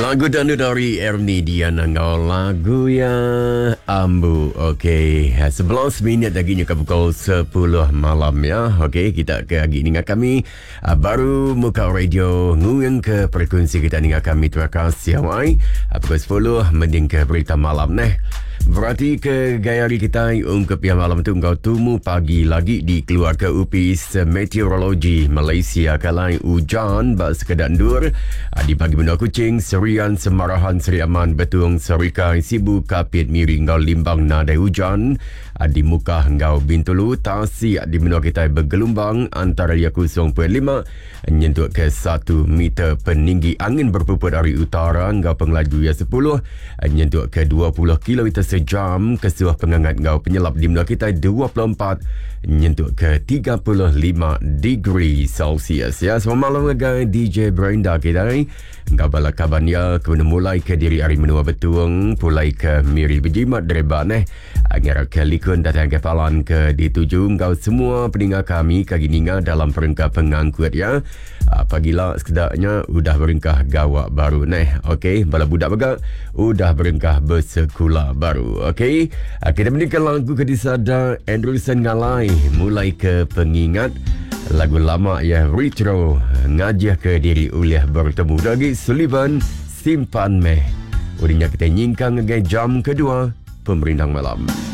Lagu danu dari Ernie Dian enggau lagu ya Ambu. Okey, 11 minit lagi nyuka pukul 10 malam ya. Okey, kita ke agi ninga kami ah, baru muka radio nguing ke frekuensi kita ninga kami. Terima kasih awai. Ah, pukul 10 mending ke berita malam neh. Berati ke gaya hari kitai ungkup pia malam tu enggau tumu pagi lagi dikeluarka Opis Meteorologi Malaysia kalai ujan ba sekeda endur ah, di bagi menua Kuching, Serian, Semarahan, Seri Aman, Betong, Serikai, Sibu, Kapit, Miri enggau Limbang nadai ujan ah, di Mukah enggau Bintulu. Tasik di menua kitai begelumbang antara iya 0.5 Nyentuk ke satu meter peninggi angin berpuput ari utara enggau pengelaju iya sepuluh nyentuk ke 20 kilometer sejam kesuah pengangat enggau penyelap di menua kitai 24 nyentuk ke 35 degree Celsius. Ya, selamat malam ngagai DJ Brenda kitai enggau bala kaban iya ke mulai ke diri ari menua Betung pulai ke Miri bejimat dereba neh. Ngarapka likun datai ngagai palan ke dituju enggau semua peninga kami ke agi ninga dalam perengka pengangkut ya. Ah, pagila sekeda nya udah berengkah gawa baru neh. Okey, bala budak mega udah berengkah besekula baru. Okey, ah, kita mendingka lagu ke disada Andrewson Ngalai mulai ke pengingat lagu lama ya retro ngajih ke diri ulih bertemu lagi Sullivan simpan meh. Udah nya kita nyingkang ngagai jam kedua. Pemerindang Malam.